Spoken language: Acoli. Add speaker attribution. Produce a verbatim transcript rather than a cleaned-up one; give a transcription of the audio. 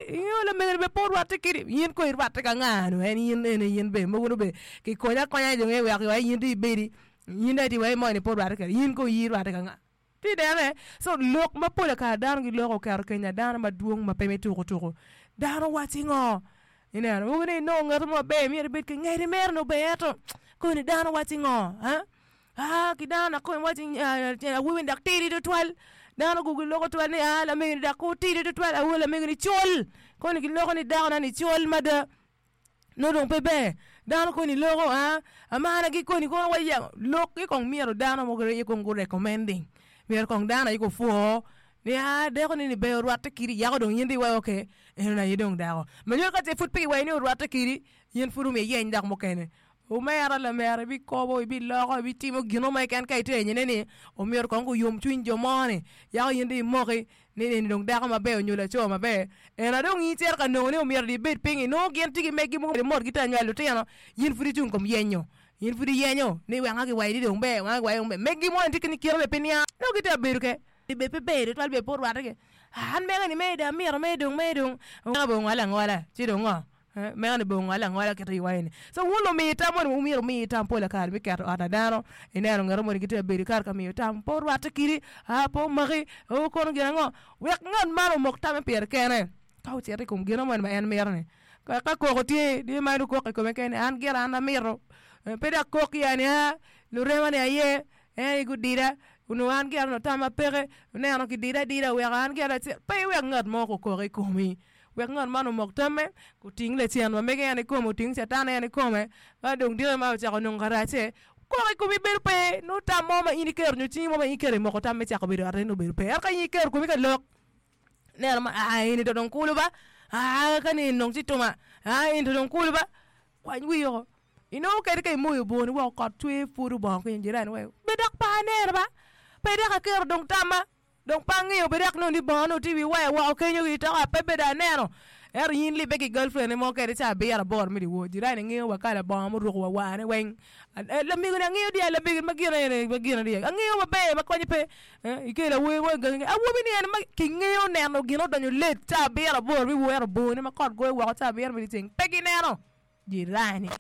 Speaker 1: Ingeyo lamegoni bene pe orwatte kedi, in kong irwatte ka nga nu en in ene in bene mogo nongo bene kikonyi akonya dong eweko wek in dong ibedi in dong iti wek moni pe orwatte kedi in kong in irwatte ka nga ti inene so lok ma pola kare dano giloko oketo kenya dano madwong ma pe me tuko tuko dano waci ngo ineno mogo ni inongo ngat mo maber myero ibed ki ngedi mere nongo ber ento koni dano waci ngo aa ki dano dok kong iwaci awobi ni dok tidi tutwal dano gu giloko twal ni aa lamego ni dok kor tidi tutwal awobi lamego ni col koni giloko ni dakona ni col mada nongo dong pe ber dano koni loko aa amana gi koni kono wa yamo lok-ki kong myero dano mogo aye kong gu recommending myero kong dano aye gupwo ni aa dako ni ni ber orwatte kidi yako dong in dong iwaco okay eno aye dong dako ma nyuto ka ce pud pe kiwaco ni orwatte kidi in pud omyero iyeny dako mukene Omera lamera ibikobo, ibiloko, ibitimo gin mo keken ka itye ka ni omyero kong guyom cwiny jo mo-ni yako in dong imoki ni eni dong dako maber nyo laco maber ena dong in icito ka nongo ni omyero dong ibed piny inongo gin tye ki megi mogo mot gitye ka nywalo lutino in pud icung i kom yenyo in pud iyenyo ni wanga kiwaci ni dong ber wanga kiwaci ni dong ber megi moni tye kit kite bene pe niang nongo gitye ka bedo ke bed pe ber tutwal bene pe orwatte ki an mega ni mere dong amito mere dong mere dong bene ongole angola ci dong ngo Meno ni bene ongole angola kit iwaco ni. So wun lumi tam moni wumyero wumi tam pol kare me keto ot pa dano ineno ngat moni gitye ka bedo kare ka miyo tam pe orwatte kidi aa pe omaki oo kono gin ango wek ngat man omok tamme pire kene ka ocito i kom gin moni ma en mito ni ka koko tye dong imaro koko i kome kene an gira an amito pe dok kok ya ni aa lurema ni aye en aye gudida onongo an gira onongo tamma peke oneno kidida adida oweko an gira acel pe iwek ngat mo okok i komi. Wek ngat man omok tamme, oting lacen ma mege en ikome, oting Catan en ikome, ka dong diki ma ocako nongo karacce, koko i komi bedo pe, nongo tam mo ma in iketo nyo cingi mo ma in iketo i moko tam me cako bedo ot-ti nongo bedo pe. Ento ka in iketo komi ka lok, ineno ma aa eni to dong kulu ba, aa ka ni eni dong ci tuma, aa eni to dong kulu ba, kwany wii woko. Inongo kadi ka imoyo boni woko kot cwer pwodo bongo kenyo jirani weko, be dok pe aneno ba, pe dok aketo dong tamma. Dong pe angeyo bed dok nongo ni bongo nongo tye i wi waya woko kenyo ki toka pe bedo aneno. Ento in libbe ki girlfriend ni mo kede ca abiro aboro me dyewor jirani ngeyo wa kala bongo muruko wa warne weng. Lamego ni angeyo dye lamego ma gin ene ma gin ene angeyo maber ma konye pe ikelo awobi mo i gangi awobi ni ene ma kingeyo neno gin odonyo late ca abiro aboro me dyewor ento bongone ma kot goyo woko ca abiro me dyeceng pe gineno jirani.